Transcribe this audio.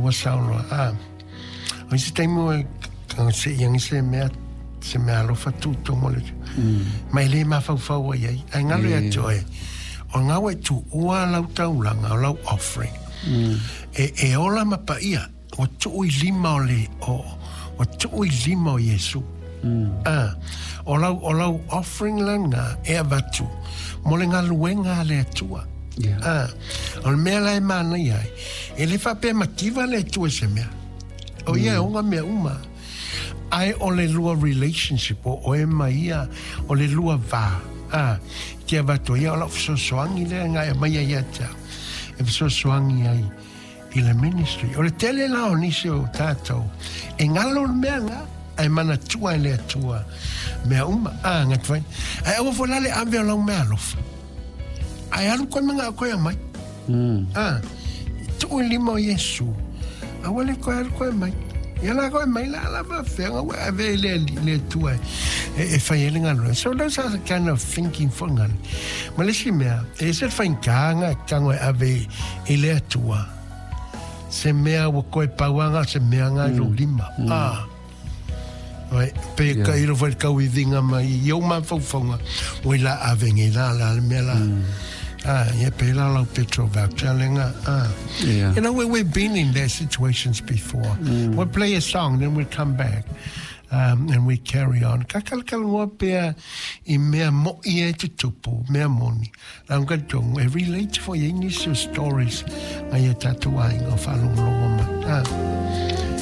ua sao loa. A, o isi taimi ua se'i se mea se mea alofa tutogo le ma e lē mafaufau ai ai ae galo ia te oe o lena ua e tuua lau taulaga o lau offering e, e ola ma paia ua tuu i lima o le o ua tuu i lima o Iesu. A, o lau, o lau offering lena e avatu mo le galuega a le Atua. A, o le mea la e manaia ai, e le faapea mativa le Atua i se mea. O ia e ona mea uma. Ae o le lua relationship o oe ma ia, o le lua va. A, te avatu ia o lau fesoasoani lea na e aumaia ia te au. E fesoasoani ai i le ministry. O le tele la o nisi o tatou, e galo le mea lena, ae manatua e le Atua mea uma. A, gata fai. Ae aua foi la le ave o lau mea alofa. Ae alu koe manao koe aumai. A, tuu i lima o Iesu, aua le koe alu koe mai. Ia la koe mai la la faafefea ua ave i le le Atua e, e fai ai le galuega. So those are the kind of thinking foi ngale. Ma le isi mea, e ese le faigata na tago e ave i le Atua se mea ua koe pau lava na o se mea na i lou lima. Ah. Right. Pe ka ilo foi le tauiviga mai i ou mafaufauga, oi la ave nei la la le mea la. Ah, ia pe la lau petrol voucher le nga. Ah. You know, we've been in that situations before. We'll play a song, then we'll come back. And we carry on. Ka kalakalagoa pea i mea mo'i e tutupu, mea moni. Lau ka tonu, e relate foi ai nisi o stories ngai o tatou aiga o faalogologo mai. Ah.